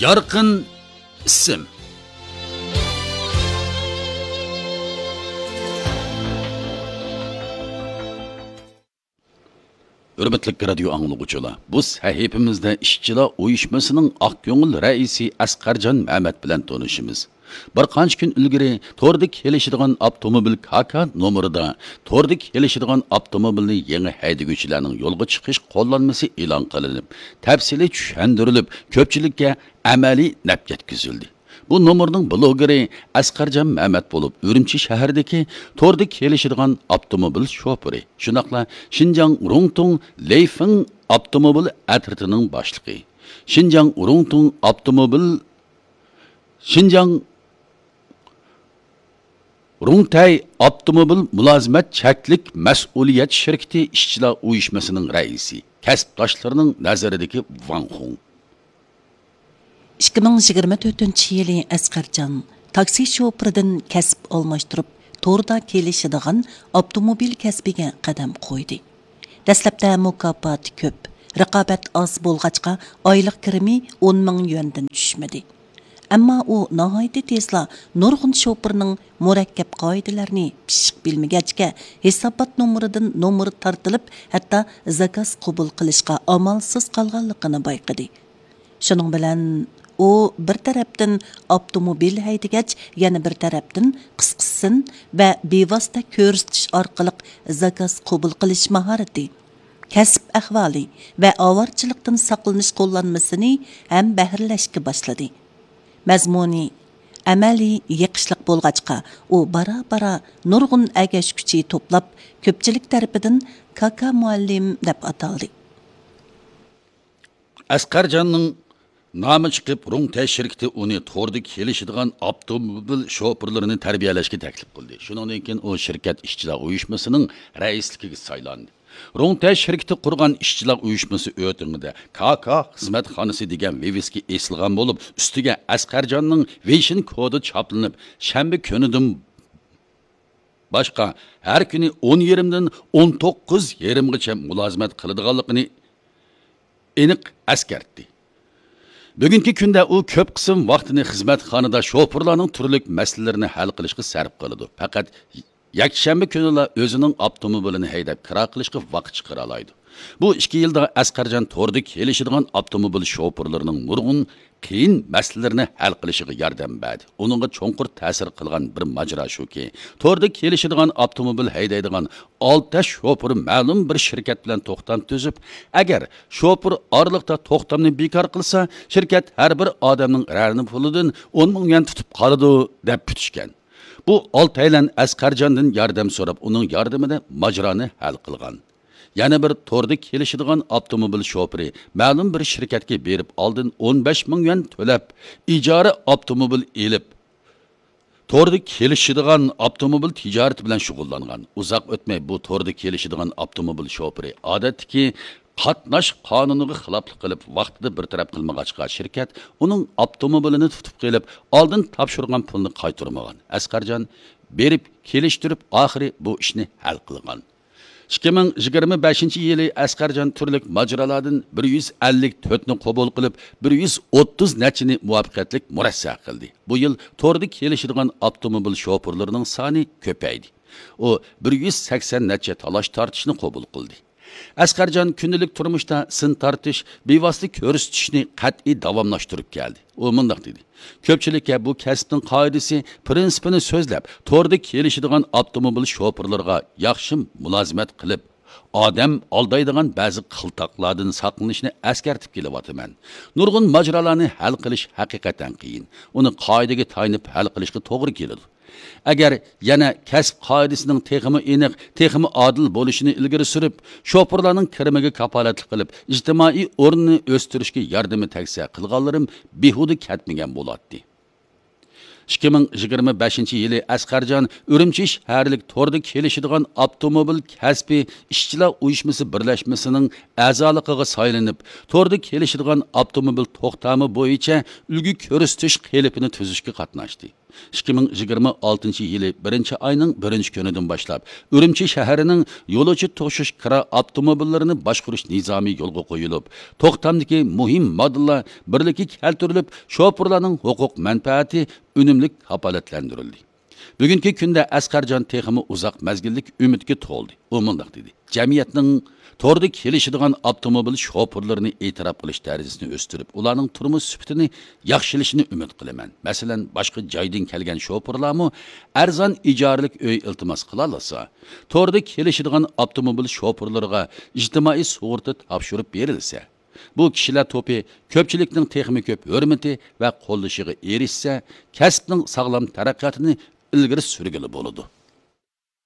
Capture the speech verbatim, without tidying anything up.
يارقىن ئىسىم. ھۆرمەتلىك رادىيو ئاڭلىغۇچىلار، بۇ سەھىپىمىزدە ئىشچىلار ئۇيۇشمىسىنىڭ ئاق كۆڭۈل رەئىسى ئەسقەرجان مەمەت بىلەن تونۇشىمىز. بىر قانچە كۈن ئىلگىرى توردا كېلىشىدىغان ئاپتوموبىل كاكا نومۇرىدا توردا كېلىشىدىغان ئاپتوموبىلنى يېڭى ھەيدىگۈچىلەرنىڭ يولغا چىقىش قوللانمىسى ئېلان قىلىنىپ، تەپسىلىي چۈشەندۈرۈلۈپ، كۆپچىلىككە ئەمەلىي نەپ يەتكۈزۈلدى. بۇ نومۇرنىڭ بلوگېرى ئەسقەرجان مەمەت بولۇپ، ئۈرۈمچى شەھىرىدىكى توردا كېلىشىدىغان ئاپتوموبىل شوپۇرى، شۇنداقلا شىنجاڭ رۇڭتۇڭ لېيفېڭ ئاپتوموبىل ئەترىتىنىڭ باشلىقى، شىنجاڭ رۇڭتۇڭ ئاپتوموبىل، شىنجاڭ رۇڭتەي ئاپتوموبىل مۇلازىمەت چەكلىك مەسئۇلىيەت شىركىتى ئىشچىلار ئۇيۇشمىسىنىڭ رەئىسى، كەسىپداشلىرىنىڭ نەزىرىدىكى ۋاڭ خۇڭ. ئىككى مىڭ يىگىرمە تۆتىنچى يىلى ئەسقەرجان تاكسى شوپۇرىدىن كەسىپ ئالماشتۇرۇپ، توردا كېلىشىدىغان ئاپتوموبىل كەسپىگە قەدەم قويدى. دەسلەپتە مۇكاپاتى كۆپ، رىقابەت ئاز بولغاچقا، ئايلىق كىرىمى ئون مىڭ يۈەندىن چۈشمىدى. ئەمما ئۇ ناھايىتى تېزلا نۇرغۇن شوپۇرنىڭ مۇرەككەپ قائىدىلەرنى پىششىق بىلمىگەچكە، ھېسابات نومۇرىدىن نومۇر تارتىلىپ، ھەتتا زاكاز قوبۇل قىلىشقا ئامالسىز قالغانلىقىنى بايقىدى. شۇنىڭ بىلەن ئۇ بىر تەرەپتىن ئاپتوموبىل ھەيدىگەچ، يەنە بىر تەرەپتىن قىسقىسىن ۋە بىۋاسىتە كۆرسىتىش ئارقىلىق زاكاز قوبۇل قىلىش ماھارىتى، كەسىپ ئەھۋالى ۋە ئاۋارىچىلىقتىن ساقلىنىش قوللانمىسىنى ھەم بەھرىلەشكە باشلىدى. مەزمۇنى ئەمەلىي يېقىشلىق بولغاچقا، ئۇ بارا-بارا نۇرغۇن ئەگەشكۈچى توپلاپ، كۆپچىلىك تەرىپىدىن كاكا مۇئەللىم دەپ ئاتالدى. ئەسقەرجاننىڭ نامى چىقىپ، رۇڭتەي شىركىتى ئۇنى توردا كېلىشىدىغان ئاپتوموبىل شوپۇرلىرىنى تەربىيەلەشكە تەكلىپ قىلدى. شۇنىڭدىن كېيىن ئۇ شىركەت ئىشچىلار ئۇيۇشمىسىنىڭ رەئىسلىكىگە سايلاندى. رۇڭتەي شىركىتى قۇرغان ئىشچىلار ئۇيۇشمىسى ئۆتۈڭىدە كاكا خىزمەتخانىسى دېگەن ۋىۋىسكا ئېسىلغان بولۇپ، ئۈستىگە ئەسقەرجاننىڭ ۋېيشىن كودى چاپلىنىپ، شەنبە كۈنىدىن باشقا ھەر كۈنى ئون يېرىمدىن ئون توققۇز يېرىمغىچە مۇلازىمەت قىلىدىغانلىقىنى ئېنىق ئەسكەرتتى. بۈگۈنكى كۈندە ئۇ كۆپ قىسىم ۋاقتىنى خىزمەتخانىدا شوپۇرلارنىڭ تۈرلۈك مەسىلىلىرىنى ھەل قىلىشقا سەرپ قىلىدۇ. پەقەت يەكشەنبە كۈنىلا ئۆزىنىڭ ئاپتوموبىلىنى ھەيدەپ كىرا قىلىشقا ۋاقىت چىقىرالايدۇ. بۇ ئىككى يىلدا ئەسقەرجان توردا كېلىشىدىغان ئاپتوموبىل شوپۇرلىرىنىڭ نۇرغۇن قىيىن مەسىلىلىرىنى ھەل قىلىشىغا ياردەم بەردى. ئۇنىڭغا چوڭقۇر تەسىر قىلغان بىر ماجىرا شۇكى، توردا كېلىشىدىغان ئاپتوموبىل ھەيدەيدىغان ئالتە شوپۇر مەلۇم بىر شىركەت بىلەن توختام تۈزۈپ، ئەگەر شوپۇر ئارىلىقتا توختامنى بىكار قىلسا، شىركەت ھەر بىر ئادەمنىڭ رەنە پۇلىدىن ئون مىڭ يۈەن تۇتۇپ قالىدۇ، دەپ پۈتۈشكەن. بۇ ئالتەيلەن ئەسقەرجاندىن ياردەم سوراپ، ئۇنىڭ ياردىمىدە ماجىرانى ھەل قىلغان. يەنە بىر توردا كېلىشىدىغان ئاپتوموبىل شوپۇرى مەلۇم بىر شىركەتكە بېرىپ، ئالدىن ئون بەش مىڭ يۈەن تۆلەپ، ئىجارە ئاپتوموبىل ئېلىپ، توردا كېلىشىدىغان ئاپتوموبىل تىجارىتى بىلەن شۇغۇللانغان. ئۇزاق ئۆتمەي بۇ توردا كېلىشىدىغان ئاپتوموبىل شوپۇرى ئادەتتىكى قاتناش قانۇنىغا خىلاپلىق قىلىپ، ۋاقتىدا بىر تەرەپ قىلمىغاچقا، شىركەت ئۇنىڭ ئاپتوموبىلىنى تۇتۇپ قېلىپ، ئالدىن تاپشۇرغان پۇلنى قايتۇرمىغان. ئەسقەرجان بېرىپ كېلىشتۈرۈپ، ئاخىرى بۇ ئىشنى ھەل قىلغان. ئىككى مىڭ يىگىرمە بەشىنچى يىلى ئەسقەرجان تۈرلۈك ماجىرالاردىن بىر يۈز ئەللىك تۆتنى قوبۇل قىلىپ، بىر يۈز ئوتتۇز نەچچىنى مۇۋەپپەقىيەتلىك مۇرەسسە قىلدى. بۇ يىل توردا كېلىشىدىغان ئاپتوموبىل شوپۇرلىرىنىڭ سانى كۆپەيدى. ئۇ بىر يۈز سەكسەن نەچچە تالاش تارتىشنى قوبۇل قىلدى. ئەسقەرجان كۈندىلىك تۇرمۇشتا سىن تارتىش، بىۋاسىتە كۆرسىتىشنى قەتئىي داۋاملاشتۇرۇپ كەلدى. ئۇ مۇنداق دېدى: كۆپچىلىككە بۇ كەسىپنىڭ قائىدىسى، پىرىنسىپىنى سۆزلەپ، توردا كېلىشىدىغان ئاپتوموبىل شوپۇرلىرىغا ياخشى مۇلازىمەت قىلىپ، ئادەم ئالدايدىغان بەزى قىلتاقلاردىن ساقلىنىشنى ئەسكەرتىپ كېلىۋاتىمەن. نۇرغۇن ماجىرالارنى ھەل قىلىش ھەقىقەتەن قىيىن. ئۇنى قائىدىگە تايىنىپ ھەل قىلىشقا توغرا كېلىدۇ. ئەگەر يەنە كەسىپ قائىدىسىنىڭ تېخىمۇ ئېنىق، تېخىمۇ ئادىل بولۇشىنى ئىلگىرى سۈرۈپ، شوپۇرلارنىڭ كىرىمىگە كاپالەتلىك قىلىپ، ئىجتىمائىي ئورنىنى ئۆستۈرۈشكە ياردىمى تەگسە قىلغانلىرىم بىھۇدە كەتمىگەن بولاتتى. ئىككى مىڭ يىگىرمە بەشىنچى يىلى ئەسقەرجان ئۈرۈمچى شەھەرلىك توردا كېلىشىدىغان ئاپتوموبىل كەسپى ئىشچىلار ئۇيۇشمىسى بىرلەشمىسىنىڭ ئەزالىقىغا سايلىنىپ، توردا كېلىشىدىغان ئاپتوموبىل توختامى بويىچە ئۈلگە كۆرسىتىش قېلىپىنى تۈزۈشكە قاتناشتى. ئىككى مىڭ يىگىرمە ئالتىنچى يىلى بىرىنچى ئاينىڭ بىرىنچى كۈنىدىن باشلاپ، ئۈرۈمچى شەھىرىنىڭ يولۇچى توشۇش كىرا ئاپتوموبىللىرىنى باشقۇرۇش نىزامى يولغا قويۇلۇپ، توختامدىكى مۇھىم ماددىلار بىرلىككە كەلتۈرۈلۈپ، شوپۇرلارنىڭ ھوقۇق مەنپەئەتى ئۈنۈملۈك كاپالەتلەندۈرۈلدى. بۈگۈنكى كۈندە ئەسقەرجان تېخىمۇ ئۇزاق مەزگىللىك ئۈمىدكە تولدى. ئۇ مۇنداق دېدى: جەمئىيەتنىڭ توردا كېلىشىدىغان ئاپتوموبىل شوپۇرلىرىنى ئېتىراپ قىلىش دەرىجىسىنى ئۆستۈرۈپ، ئۇلارنىڭ تۇرمۇش سۈپىتىنى ياخشىلىشىنى ئۈمىد قىلىمەن. مەسىلەن، باشقا جايدىن كەلگەن شوپۇرلارمۇ ئەرزان ئىجارىلىك ئۆي ئىلتىماس قىلالىسا، توردا كېلىشىدىغان ئاپتوموبىل شوپۇرلىرىغا ئىجتىمائىي سۇغۇرتا تاپشۇرۇپ بېرىلسە، بۇ كىشىلەر توپى كۆپچىلىكنىڭ تېخىمۇ كۆپ ھۆرمىتى ۋە قوللىشىغا ئېرىشسە، كەسىپنىڭ ساغلام تەرەققىياتىنى ئىلگىرى سۈرگىلى بولىدۇ.